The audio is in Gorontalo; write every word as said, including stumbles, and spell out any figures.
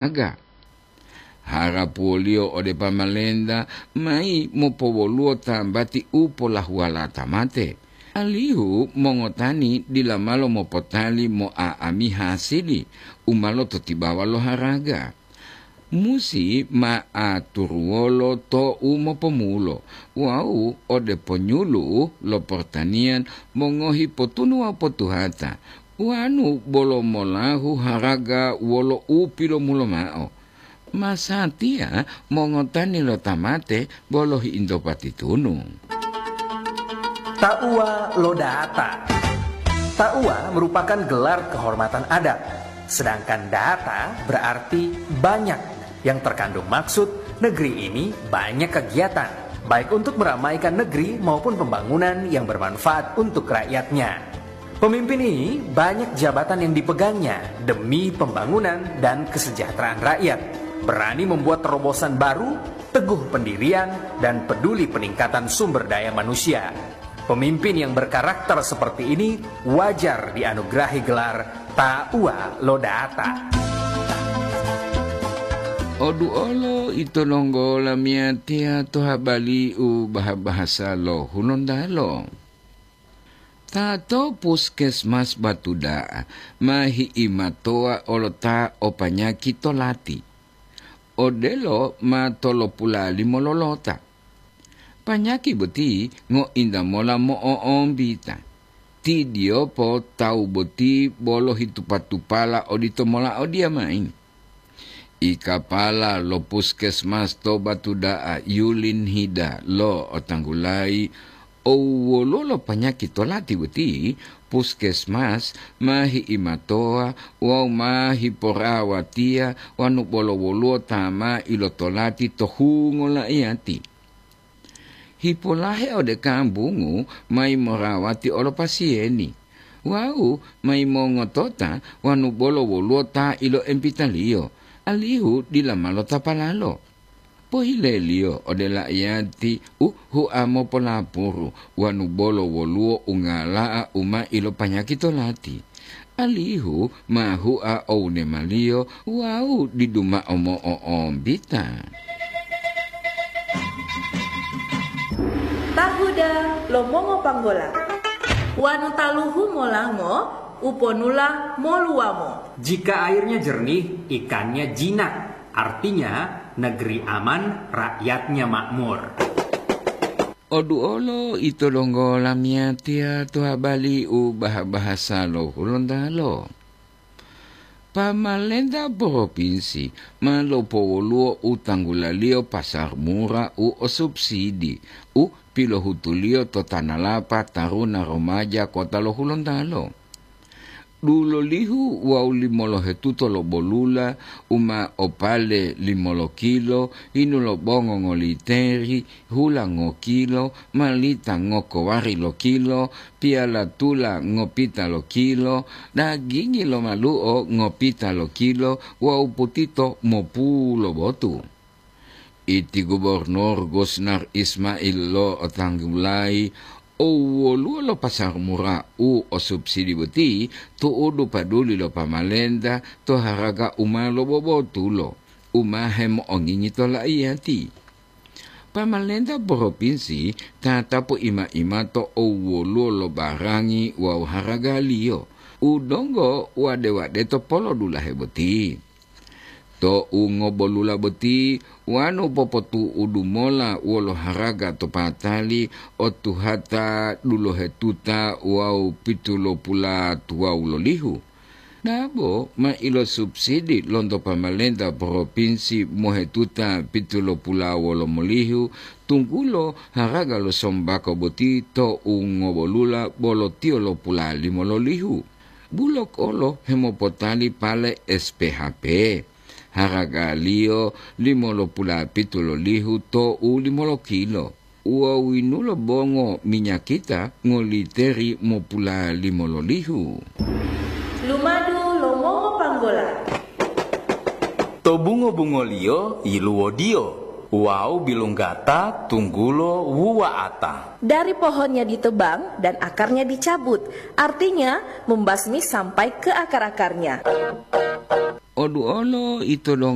aga. Harapuwoliyo ode pamalenta mayi mopowoluwo tambati u polahuwalata mate, alihu mongotani dila malo mopotali mo'a'ami hasili u ma lototibawa lo haraga. Musi ma aturuwolo to u mopomulo wawu ode ponyulu'u lo portaniyan mongohi potunu wawu potuhata, wanu bolo molahu haraga wolo u pilomulo ma'o. Masatiya mongotani lo tamate bolo hiinto patitunu. Tauwa lo data. Tauwa merupakan gelar kehormatan adat, sedangkan data berarti banyak, yang terkandung maksud negeri ini banyak kegiatan, baik untuk meramaikan negeri maupun pembangunan yang bermanfaat untuk rakyatnya. Pemimpin ini banyak jabatan yang dipegangnya demi pembangunan dan kesejahteraan rakyat. Berani membuat terobosan baru, teguh pendirian, dan peduli peningkatan sumber daya manusia. Pemimpin yang berkarakter seperti ini wajar dianugerahi gelar Tauwa lo Data. Oduolo ito longgo lamiyatiya to habari u baha-bahasa lo Hulontalo. Ta to puskesmas Batuda'a ma hi'imatowa olo ta o panyaki to lati. Odelo ma tolopula limo lolota. Panyaki boti ngointa mola mo'o'ombita. Ti diyopo tawu boti bolo hitupa-tupala odito mola odiyamayi. Ikapala lo puskesmas to Batuda'a Yulin Hida lo otanggulayi, owwoluwo lo panyaki to lati boti, puskesmas ma hi'imatowa wawu ma hiporawatiya wanu bolo woluwo ta ma ilotolati to hungo la'iyati. Hipolahe ode kambungu mayi morawati olo pasiyeni, wawu mayi mongotota wanu bolo woluwo ta iloempitaliyo, alihu dila ma lotapalalo. Pohileliyo ode la'iyati u hua mopolapuru wanu bolo woluwo ungala'a u ma ilopanyaki to lati, alihu ma hua owunemaliyo wawu didu mao mo'o'ombita. Tahuda lo mongopanggola. Wanu taluhu molango, uponula moluwamo. Jika airnya jernih, ikannya jinak. Artinya, negeri aman, rakyatnya makmur. Oduolo ito donggo lamiyatiya to habari u baha-bahasa lo Hulontalo. Pamalenta propinsi ma lopowoluwo u tanggulaliyo pasar mura u o subsidi u pilohutuliyo to Tanalapa Taruna Romaja Kota lo Hulontalo. Dulolihu wawu limolohetuto lo bolula u ma opale limolo kilo, hinu lo bongo ngoliteri, hula ngokilo, malita ngokowari lo kilo, piyala tula ngopita lo kilo, dagingi lo malu'o ngopita lo kilo wawu putito mopulo botu. Iti Gubernur Gusnar Ismail lo'otanggulayi owwoluwo lo pasar mura u o subsidi boti tu'udu paduli lo pamalenta to haraga u ma lobobotulo, u ma hemo'ongingi to la'iyati. Pamalenta propinsi tatapu ima-imato owwoluwo lo barangi wawu haragaliyo u donggo wade-wadeto polodulahe boti. Tou ngobolula boti wanu popotu'udu mola wolo haraga to patali o tuhata dulohetuta wawu pitulopulatuwawu lolihu. Dabo ma ilosubsidi lonto pamalenta propinsi mohetuta pitulopulawolomolihu, tunggulo haraga lo sombako boti tou ngobolula bolo tiyo lopulalimo lolihu. Bulok olo hemopotali pale S P H P, haragaliyo limolopulapitu lolihu tou limolo kilo. Uwawinulo bongo minyakita ngoliteri mopulalimo lolihu. Lumadu lo mongopanggola. To bungo-bungoliyo yiluwodiyo wawu bilunggata tunggulo wuwa'ata. Dari pohonnya ditebang dan akarnya dicabut, artinya membasmi sampai ke akar-akarnya. Oduolo ito donggo